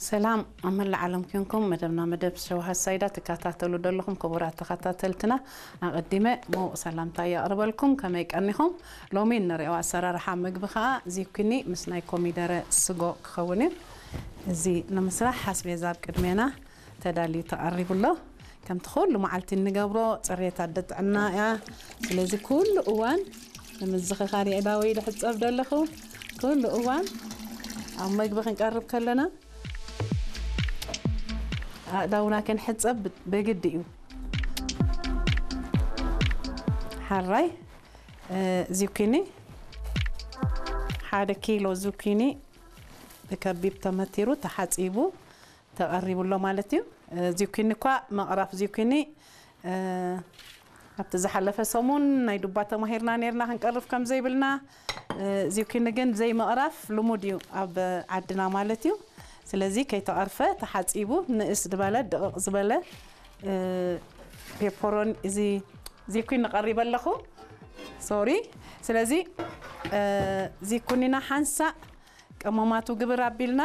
ሰላም ኣብ መላእ ዓለም ኮንኩም መደብና መደብ ሸውሃት ሳይዳ ትከታተሉ ዘለኹም ክቡራት ተኸታተልትና፣ ኣቐዲመ ምዉቕ ሰላምታ የቕርበልኩም። ከመይ ቀኒኹም? ሎሚ እንሪኦ ኣሰራርሓ ምግቢ ኸኣ ዚኩኒ ምስ ናይ ኮሚደረ ስጎ ክኸውን እዩ። እዚ ንምስራሕ ኣስቤዛ ኣብ ቅድሜና ተዳልዩ ተቐሪቡ ኣሎ። ከምቲ ኩሉ መዓልቲ እንገብሮ፣ ጽሬት ኣደ ጥዕና እያ። ስለዚ ኩሉ እዋን ንምዝኽኻር የእዳወይ ዝሕጸብ ዘለኹ፣ ኩሉ እዋን ኣብ መግቢ ክንቀርብ ከለና ኣእዳውና ክንሕጸብ በግዲ እዩ። ሓራይ እ፣ ዚኩኒ፣ ሓደ ኪሎ ዚኩኒ ብከቢብ ተመቲሩ ተሓጺቡ ተቐሪቡ ኣሎ ማለት እዩ። እ፣ ዚኩኒ እኳ መቕራፍ ዚኩኒ፣ እ፣ ኣብቲ ዝሓለፈ ሰሙን ናይ ዱባ ተማሂርና ነይርና ክንቀርፍ ከም ዘይብልና፣ እ፣ ዚኩኒ ግን ዘይምቕራፍ ልሙድ እዩ ኣብ ዓድና ማለት እዩ። ስለዚ ከይተቐርፈ ተሓጺቡ ንእስ ዝበለ ድቕቕ ዝበለ፣ እ፣ ፔፐሮኒ እዚ ዚኩኒ ቀሪበ ኣለኹ። ሶሪ። ስለዚ፣ እ፣ ዚኩኒና ሓንሳእ ቀመማቱ ግብር ኣቢልና